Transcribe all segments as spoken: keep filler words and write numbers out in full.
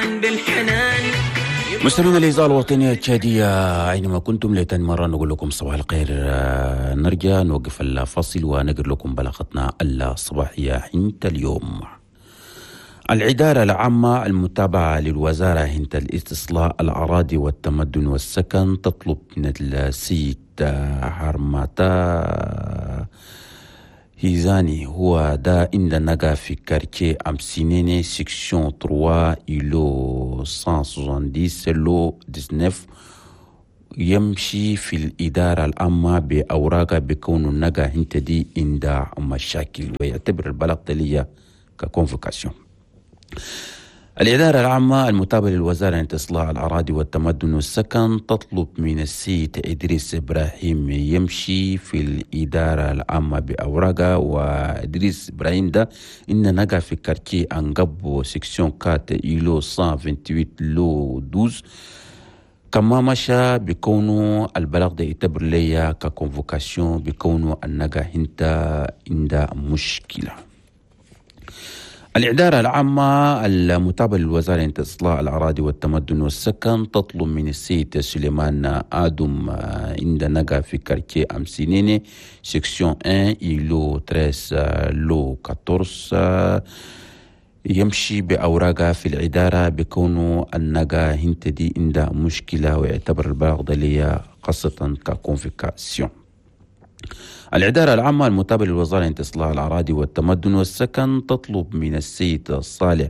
بالحنان. مستمعينا الإذاعة الوطنية التشادية أينما كنتم، لتاني مرة نقول لكم صباح الخير. نرجع نوقف الفاصل ونقرأ لكم بلاغتنا الصباحية حنت اليوم. الإدارة العامة المتابعة للوزارة هنت الاستصلاح الأراضي والتمدن والسكن تطلب من السيد حرماتا هيزاني، هو دا عند نقا في quartier أمسينيني، section ثلاثة، îlot مية وسبعين، lot تسعة عشر، يمشي في الإدارة العامة بأوراق بكون النقا هنت دي عند مشاكل، ويعتبر البلاغ تلية ك convocation. الإدارة العامة المتابعة للوزارة لإستصلاح الأراضي والتمدن والسكن تطلب من السيد إدريس إبراهيم يمشي في الإدارة العامة بأوراقه، وإدريس إبراهيم ده إن نقع في quartier أنقبو، section أربعة، îlot مية وثمانية وعشرين، lot اثنا عشر. كما مشى بكونه البلاغ ده يعتبر ليا ك convocation بكونه النقا هنتا عند مشكلة. الإدارة العامة المتابعة للوزارة لإستصلاح الأراضي والتمدن والسكن تطلب من السيد سليمان آدم عند نقا في quartier أمسينيني، section واحد، îlot ثلاثة عشر، lot أربعة عشر، يمشي بأوراقه في الإدارة بكونه النقا هنت دي عند مشكلة، ويعتبر البلاغ ده ليا خاصة ك convocation. الإدارة العامة المتابعة للوزارة لإستصلاح الأراضي والتمدن والسكن تطلب من السيد صالح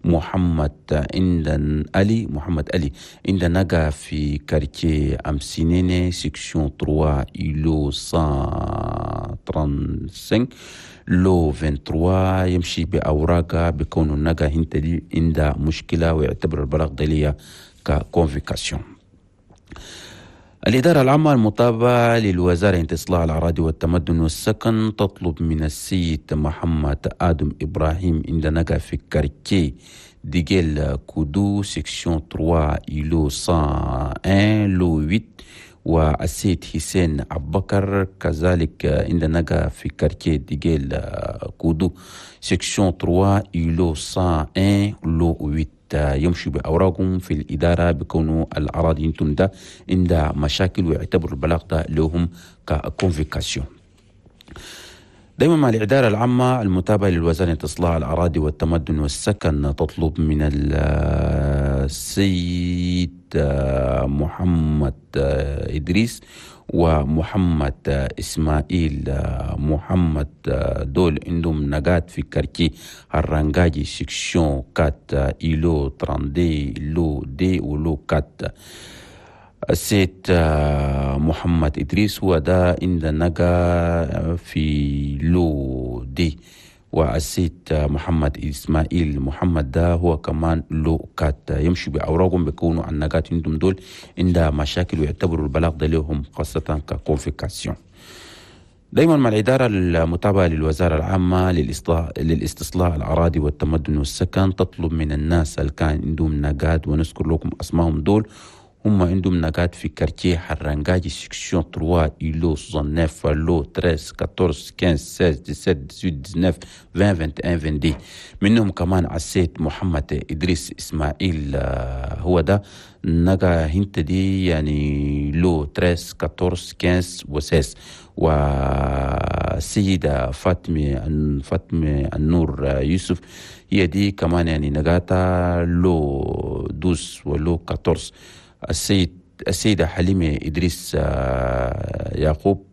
محمد عند علي محمد علي عند نقا في quartier أمسينيني، section ثلاثة، îlot مية وخمسة وثلاثين، lot ثلاثة وعشرين، يمشي بأوراقه بكون النقا هنت دي عند مشكلة، ويعتبر البلاغ دلية ك convocation. الإدارة العامة المتابعة للوزارة لإستصلاح الأراضي والتمدن والسكن تطلب من السيد محمد آدم إبراهيم عند نقا في quartier ديجيل كودو، section ثلاثة، îlot مية وواحد، lot ثمانية، والسيد حسين أبو بكر كذلك عند نقا في quartier ديجيل كودو، section ثلاثة، îlot مية وواحد، lot ثمانية، يمشوا بأوراقهم في الإدارة بكونوا الأراضي انتم ده عند مشاكل، ويعتبروا البلاغ ده لهم ك convocation. دايما مع الإدارة العامة المتابعة للوزارة لإستصلاح الأراضي والتمدن والسكن تطلب من السيد محمد إدريس ومحمد إسماعيل محمد، دول عندهم نقات في quartier الرنجاجي، section أربعة، îlot اثنين وثلاثين، lot deux و lot أربعة. السيد محمد إدريس هو ده عند نقا في lot deux، والسيد محمد إسماعيل محمد ده هو كمان lot quatre، يمشي بأوراقهم بيكونوا النقات عندهم دول عندها مشاكل، ويعتبروا البلاغ ده لهم خاصة ك convocation. دايما مع الإدارة المتابعة للوزارة العامة للاستصلاح الأراضي والتمدن والسكن تطلب من الناس اللي كان عندهم نقات، ونذكر لكم أسمائهم، دول هم عندهم نقات في quartier حرنجاجي، section ثلاثة، îlot تسعة وستين، lot ثلاثة عشر، أربعة عشر، خمسة عشر، ستة عشر، سبعة عشر، ثمانية عشر، تسعة عشر، عشرين، واحد وعشرين، اثنين وعشرين. منهم كمان السيد محمد إدريس إسماعيل، هو ده نقا هنت دي يعني lot ثلاثة عشر، أربعة عشر، خمسة عشر و ستة عشر، والسيدة فاطمة فاطمة النور يوسف هي دي كمان يعني نقاتا lot اثنا عشر و lot أربعة عشر. السيد السيدة حليمة إدريس يعقوب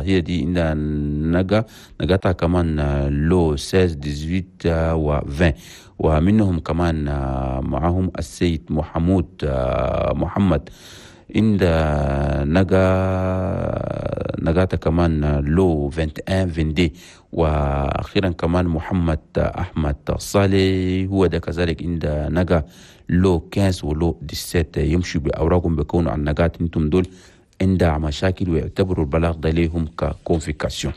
هي دي عندها نقا نقاتها كمان lot ستة عشر، ثمانية عشر و عشرين. ومنهم كمان معهم السيد محمود محمد عند نقا نقاتا كمان lot واحد وعشرين، اثنين وعشرين. واخيرا كمان محمد احمد صالح هو ده كذلك عند نقا lot خمسة عشر و lot سبعة عشر، يمشوا باوراقهم بيكونوا عن نقات انتم دول عندها مشاكل، ويعتبروا البلاغ ده ليهم ك convocation.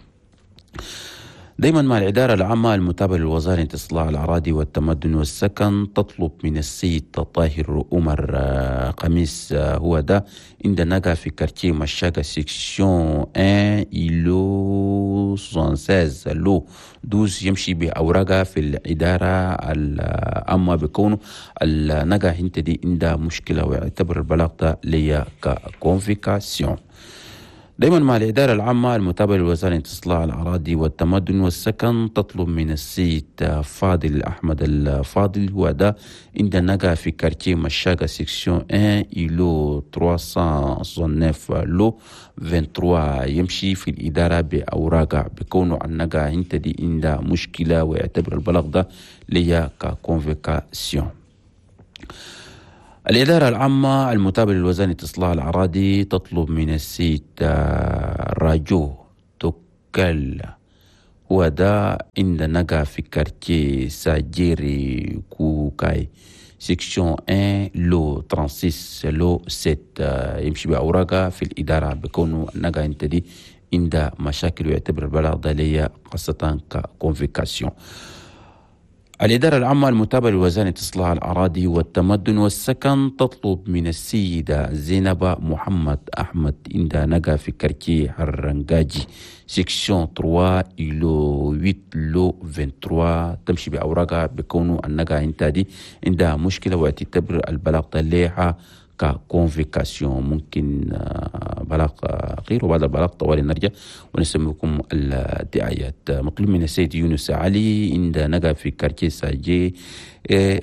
دايما مع الإدارة العامة المتابعة للوزارة إصلاح الأراضي والتمدن والسكن تطلب من السيد طاهر عمر قميص، هو ده عند نقا في quartier مشاكا section واحد îlot ستة وستين lot douze، يمشي بأوراقها في الإدارة العامة بكونه النقا هنت دي عندها مشكلة، ويعتبر البلاغ ده ليا ك convocation. دايما مع الإدارة العامة المتابعة لوزارة إصلاح الأراضي والتمدن والسكن تطلب من السيد فاضل أحمد الفاضل، هو ده عند نقا في quartier مشاقة section واحد îlot ثلاثمية وتسعة وستين lot ثلاثة وعشرين، يمشي في الإدارة بأوراقها بكونه النقا انت دي عندها مشكلة، ويعتبر البلاغ ده ليا ك convocation. الإدارة العامة المتابعة لوزارة إصلاح الأراضي تطلب من السيد راجو توكل، هو ده عند نقا في quartier ساجيري كوكاي section واحد lot ستة وثلاثين lot سبعة، يمشي بأوراقها في الإدارة بكونه النقا انت دي عندها مشاكل، ويعتبر البلاغ ده ليا خاصة ك convocation. الإدارة العامة المتابعة لوزارة إصلاح الأراضي والتمدن والسكن تطلب من السيدة زينب محمد أحمد، عند نقا في quartier هرنجاجي section ثلاثة îlot ثمانية lot ثلاثة وعشرين، تمشي بأوراقها بكونه النقا انت دي عندها مشكلة، وتعتبر البلاغ ليها ك convocation. ممكن بلاغ غير، وبعد البلاغ طوالي نرجع ونسميكم الدعايات. مطلوب من السيد يونس علي، عند نقا في quartier ساجي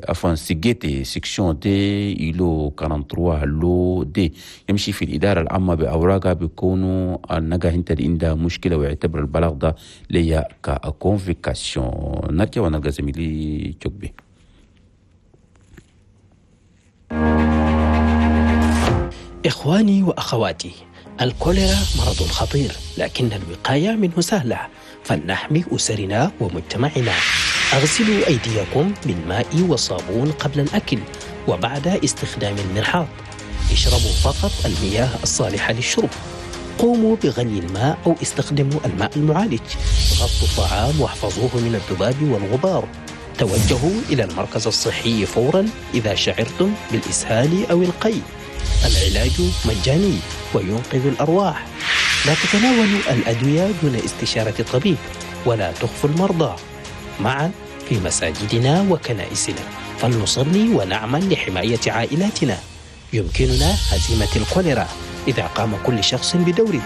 عفوا سيجيتي section deux îlot ثلاثة وأربعين lot deux، يمشي في الإدارة العامة بأوراقها بيكونوا النقا انت عندها مشكلة، ويعتبر البلاغ ده ليا ك convocation. نرجع ونلقى زميلي جوكبي. إخواني وأخواتي، الكوليرا مرض خطير، لكن الوقاية منه سهلة، فلنحمي أسرنا ومجتمعنا. أغسلوا أيديكم بالماء والصابون قبل الأكل وبعد استخدام المرحاض. اشربوا فقط المياه الصالحة للشرب. قوموا بغلي الماء أو استخدموا الماء المعالج. غطوا الطعام واحفظوه من الذباب والغبار. توجهوا إلى المركز الصحي فورا إذا شعرتم بالإسهال أو القيء. العلاج مجاني وينقذ الأرواح. لا تتناولوا الأدوية دون استشارة الطبيب، ولا تخفوا المرضى. معا في مساجدنا وكنائسنا فلنصلي ونعمل لحماية عائلاتنا. يمكننا هزيمة الكوليرا إذا قام كل شخص بدوره.